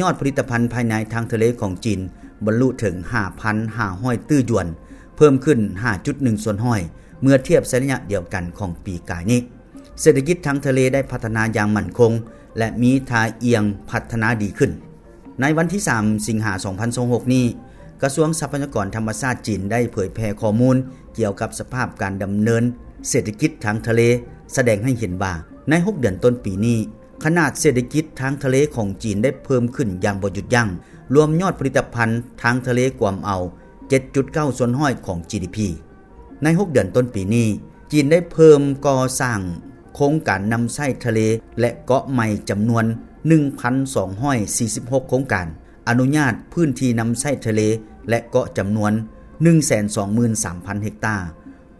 ຍອດຜະລິດຕະພັນພາຍໃນທາງທະເລຂອງຈີນ ບັນລຸເຖິງ ຫ້າພັນຫ້າຮ້ອຍຕື້ຢວນ, ເພີ່ມຂຶ້ນ ຫ້າຈຸດໜຶ່ງສ່ວນຮ້ອຍ ເມື່ອທຽບໃສ່ໄລຍະດຽວກັນຂອງປີກາຍນີ້. ເສດຖະກິດທາງທະເລໄດ້ພັດທະນາຢ່າງໝັ້ນຄົງ ແລະ ມີທ່າອ່ຽງພັດທະນາດີຂຶ້ນ. ໃນວັນທີສາມ ສິງຫາ ສອງພັນຊາວຫົກນີ້, ກະຊວງຊັບພະຍາກອນທຳມະຊາດຈີນໄດ້ເຜີຍແຜ່ຂໍ້ມູນກ່ຽວກັບສະພາບການດຳເນີນເສດຖະກິດທາງທະເລ, ສະແດງໃຫ້ເຫັນວ່າ ໃນຫົກເດືອນຕົ້ນປີນີ້, ຂະໜາດເສດຖະກິດທາງທະເລຂອງຈີນໄດ້ເພີ່ມຂຶ້ນຢ່າງບໍ່ຢຸດຢັ້ງ, ລວມຍອດຜະລິດຕະພັນທາງທະເລກວມເອົາ ເຈັດຈຸດເກົ້າສ່ວນຮ້ອຍຂອງ ຈີດີພີ. ໃນຫົກເດືອນຕົ້ນປີນີ້, ຈີນໄດ້ເພີ່ມກໍ່ສ້າງໂຄງການນຳໃຊ້ທະເລ ແລະ ເກາະໃໝ່ຈຳນວນ ໜຶ່ງພັນສອງຮ້ອຍສີ່ສິບຫົກໂຄງການ, ອະນຸຍາດພື້ນທີ່ນຳໃຊ້ທະເລ ແລະ ເກາະຈຳນວນ ໜຶ່ງແສນສອງໝື່ນສາມພັນເຮັກຕາ,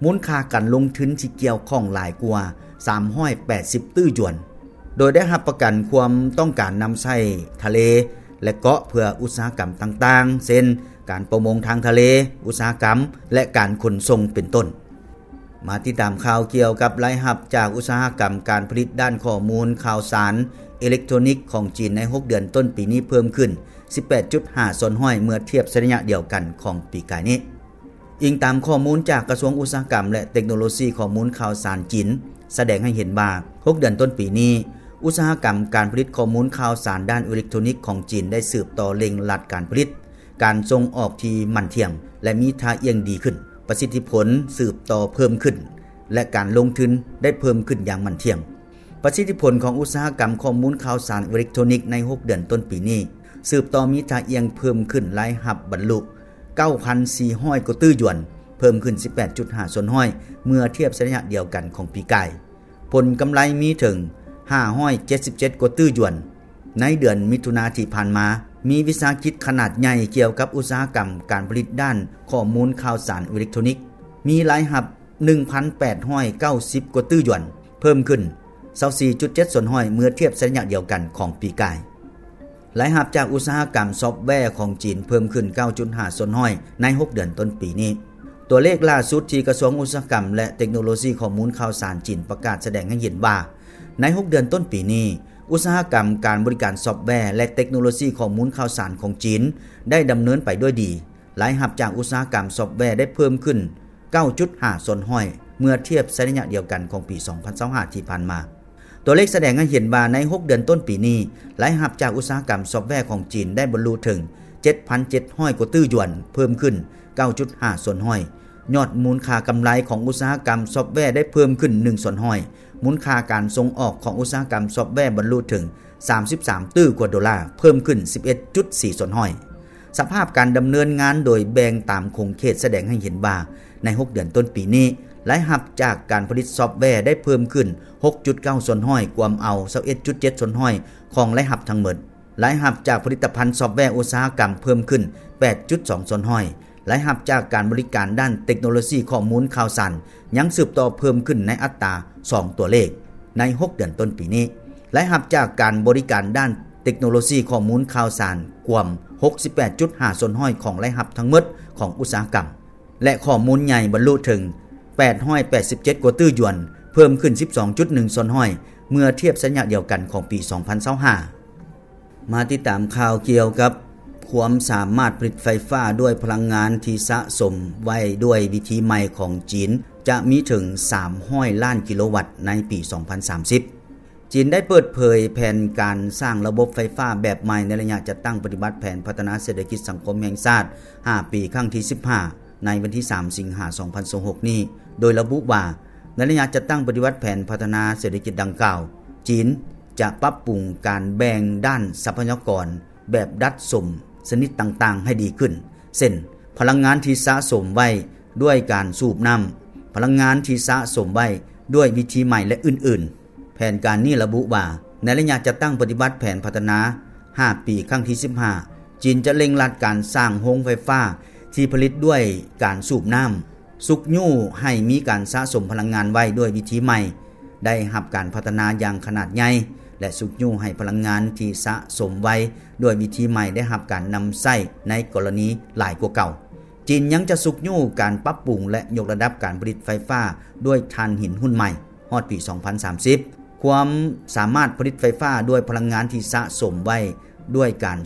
ມູນຄ່າການລົງທຶນທີ່ກ່ຽວຂ້ອງຫຼາຍກວ່າ ສາມຮ້ອຍແປດສິບຕື້ຢວນ, ໂດຍໄດ້ຮັບປະກັນຄວາມຕ້ອງການນຳໃຊ້ທະເລ ແລະ ເກາະເພື່ອອຸດສາຫະກຳຕ່າງໆ ເຊັ່ນ ການປະມົງທາງທະເລ, ອຸດສາຫະກຳ ແລະ ການຂົນສົ່ງເປັນຕົ້ນ. ມາຕິດຕາມຂ່າວກ່ຽວກັບລາຍຮັບຈາກອຸດສາຫະກຳການຜະລິດດ້ານຂໍ້ມູນຂ່າວສານເອເລັກໂທຣນິກຂອງຈີນໃນຫົກເດືອນຕົ້ນປີນີ້ເພີ່ມຂຶ້ນ ສິບແປດຈຸດຫ້າສ່ວນຮ້ອຍ ເມື່ອທຽບໃສ່ໄລຍະດຽວກັນຂອງປີກາຍນີ້. ອີງຕາມຂໍ້ມູນຈາກກະຊວງອຸດສາຫະກຳ ແລະ ເຕັກໂນໂລຊີຂໍ້ມູນຂ່າວສານຈີນ ສະແດງໃຫ້ເຫັນວ່າ ຫົກເດືອນຕົ້ນປີນີ້, ອຸດສາຫະກຳການຜະລິດຂໍ້ມູນຂ່າວສານດ້ານເອເລັກໂທຣນິກຂອງຈີນໄດ້ສືບຕໍ່ເລັ່ງລັດການຜະລິດ, ການສົ່ງອອກທີ່ໝັ້ນທ່ຽງ ແລະ ມີທ່າອ່ຽງດີຂຶ້ນ, ປະສິດທິຜົນສືບຕໍ່ເພີ່ມຂຶ້ນ ແລະ ການລົງທຶນໄດ້ເພີ່ມຂຶ້ນຢ່າງໝັ້ນທ່ຽງ. ປະສິດທິຜົນຂອງອຸດສາຫະກຳຂໍ້ມູນຂ່າວສານເອເລັກໂທຣນິກໃນຫົກເດືອນຕົ້ນປີນີ້ ສືບຕໍ່ມີທ່າອ່ຽງເພີ່ມຂຶ້ນ, ລາຍຮັບບັນລຸ ເກົ້າພັນສີ່ຮ້ອຍກວ່າຕື້ຢວນ, ເພີ່ມຂຶ້ນ ສິບແປດຈຸດຫ້າສ່ວນຮ້ອຍ ເມື່ອທຽບໃສ່ໄລຍະດຽວກັນຂອງປີກາຍ. ຜົນກຳໄລມີເຖິງ ຫ້າຮ້ອຍເຈັດສິບເຈັດກວ່າຕື້ຢວນ. ໃນເດືອນມິຖຸນາທີ່ຜ່ານມາ, ມີວິສາຫະກິດຂະໜາດໃຫຍ່ກ່ຽວກັບອຸດສາຫະກຳການຜະລິດດ້ານຂໍ້ມູນຂ່າວສານເອເລັກໂທຣນິກ ມີລາຍຮັບ ໜຶ່ງພັນແປດຮ້ອຍເກົ້າສິບກວ່າຕື້ຢວນ, ເພີ່ມຂຶ້ນ ຊາວສີ່ຈຸດເຈັດສ່ວນຮ້ອຍ ເມື່ອທຽບໃສ່ໄລຍະດຽວກັນຂອງປີກາຍ. ລາຍຮັບຈາກອຸດສາຫະກຳຊອບແວຂອງຈີນເພີ່ມຂຶ້ນ ເກົ້າຈຸດຫ້າສ່ວນຮ້ອຍ ໃນຫົກເດືອນຕົ້ນປີນີ້. ຕົວເລກລ່າສຸດທີ່ກະຊວງອຸດສາຫະກຳ ແລະ ເຕັກໂນໂລຊີຂໍ້ມູນຂ່າວສານຈີນປະກາດສະແດງໃຫ້ເຫັນວ່າ, ໃນຫົກເດືອນຕົ້ນປີນີ້, ອຸດສາຫະກຳການບໍລິການຊອບແວ ແລະ ເຕັກໂນໂລຊີຂໍ້ມູນຂ່າວສານຂອງຈີນໄດ້ດຳເນີນໄປດ້ວຍດີ. ລາຍຮັບຈາກອຸດສາຫະກຳຊອບແວໄດ້ເພີ່ມຂຶ້ນ ເກົ້າຈຸດຫ້າສ່ວນຮ້ອຍ ເມື່ອທຽບໃສ່ໄລຍະດຽວກັນຂອງປີສອງພັນຊາວຫ້າທີ່ຜ່ານມາ. ຕົວເລກສະແດງໃຫ້ເຫັນວ່າໃນຫົກເດືອນຕົ້ນປີນີ້, ລາຍຮັບຈາກອຸດສາຫະກຳຊອບແວຂອງຈີນໄດ້ບັນລຸເຖິງ ເຈັດພັນເຈັດຮ້ອຍກວ່າຕື້ຢວນ, ເພີ່ມຂຶ້ນ ເກົ້າຈຸດຫ້າສ່ວນຮ້ອຍ. ຍອດມູນຄ່າກຳໄລຂອງອຸດສາຫະກຳຊອບແວໄດ້ເພີ່ມຂຶ້ນ ໜຶ່ງສ່ວນຮ້ອຍ. ມູນຄ່າການສົ່ງອອກຂອງອຸດສາຫະກຳຊອບແວບັນລຸເຖິງ ສາມສິບສາມຕື້ກວ່າໂດລາ, ເພີ່ມຂຶ້ນ ສິບເອັດຈຸດສີ່ສ່ວນຮ້ອຍ. ສະພາບການດຳເນີນງານໂດຍແບ່ງຕາມຂົງເຂດສະແດງໃຫ້ເຫັນວ່າ, ໃນຫົກເດືອນຕົ້ນປີນີ້, ລາຍຮັບຈາກການຜະລິດຊອບແວໄດ້ເພີ່ມຂຶ້ນ ຫົກຈຸດເກົ້າສ່ວນຮ້ອຍ, ກວມເອົາ ຊາວເອັດຈຸດເຈັດສ່ວນຮ້ອຍ ຂອງລາຍຮັບທັງໝົດ. ລາຍຮັບຈາກຜະລິດຕະພັນຊອບແວອຸດສາຫະກຳເພີ່ມຂຶ້ນ ແປດຈຸດສອງສ່ວນຮ້ອຍ. ລາຍຮັບຈາກການບໍລິການດ້ານເຕັກໂນໂລຊີຂໍ້ມູນຂ່າວສານ ຍັງສືບຕໍ່ເພີ່ມຂຶ້ນໃນອັດຕາສອງຕົວເລກໃນຫົກເດືອນຕົ້ນປີນີ້. ລາຍຮັບຈາກການບໍລິການດ້ານເຕັກໂນໂລຊີຂໍ້ມູນຂ່າວສານກວມ ຫົກສິບແປດຈຸດຫ້າສ່ວນຮ້ອຍຂອງລາຍຮັບທັງໝົດຂອງອຸດສາຫະກຳ ແລະ ຂໍ້ມູນໃຫຍ່ບັນລຸເຖິງ ແປດຮ້ອຍແປດສິບເຈັດກວ່າຕື້ຢວນ, ເພີ່ມຂຶ້ນ ສິບສອງຈຸດໜຶ່ງສ່ວນຮ້ອຍ ເມື່ອທຽບໃສ່ໄລຍະດຽວກັນຂອງປີສອງພັນຊາວຫ້າ. ມາຕິດຕາມຂ່າວກ່ຽວກັບຄວາມສາມາດຜະລິດໄຟຟ້າດ້ວຍພະລັງງານທີ່ສະສົມໄວ້ດ້ວຍວິທີໃໝ່ຂອງຈີນ ຈະມີເຖິງສາມຮ້ອຍລ້ານກິໂລວັດໃນປີສອງພັນສາມສິບ. ຈີນໄດ້ເປີດເຜີຍແຜນການສ້າງລະບົບໄຟຟ້າແບບໃໝ່ໃນໄລຍະຈັດຕັ້ງປະຕິບັດແຜນພັດທະນາເສດຖະກິດສັງຄົມແຫ່ງຊາດ ຫ້າປີ ຄັ້ງທີສິບຫ້າ ໃນວັນທີສາມ ສິງຫາ ສອງພັນຊາວຫົກນີ້ ໂດຍລະບຸວ່າ ໃນໄລຍະຈັດຕັ້ງປະຕິບັດແຜນພັດທະນາເສດຖະກິດດັ່ງກ່າວ, ຈີນຈະປັບປຸງການແບ່ງດ້ານຊັບພະຍາກອນແບບດັດສົມຊະນິດຕ່າງໆໃຫ້ດີຂຶ້ນ, ເຊັ່ນ ພະລັງງານທີ່ສະສົມໄວ້ດ້ວຍການສູບນ້ຳ, ພະລັງງານທີ່ສະສົມໄວ້ດ້ວຍວິທີໃໝ່ ແລະ ອື່ນໆ. ແຜນການນີ້ລະບຸວ່າ, ໃນໄລຍະຈັດຕັ້ງປະຕິບັດແຜນພັດທະນາຫ້າປີ ຄັ້ງທີສິບຫ້າ, ຈີນຈະເລັ່ງລັດການສ້າງໂຮງໄຟຟ້າທີ່ຜະລິດດ້ວຍການສູບນ້ຳ, ຊຸກຍູ້ໃຫ້ມີການສະສົມພະລັງງານໄວ້ດ້ວຍວິທີໃໝ່ ໄດ້ຮັບການພັດທະນາຢ່າງຂະໜາດໃຫຍ່ ແລະ ຊຸກຍູ້ໃຫ້ພະລັງງານທີ່ສະສົມໄວ້ດ້ວຍວິທີໃໝ່ໄດ້ຮັບການນຳໃຊ້ໃນກໍລະນີຫຼາຍກວ່າເກົ່າ. ຈີນຍັງຈະຊຸກຍູ້ການປັບປຸງ ແລະ ຍົກລະດັບການຜະລິດໄຟຟ້າດ້ວຍຖ່ານຫີນຮຸ່ນໃໝ່ ຮອດປີສອງພັນສາມສິບ. ຄວາມສາມາດຜະລິດໄຟຟ້າດ້ວຍພະລັງງານທີ່ສະສົມໄວ້ດ້ວຍການ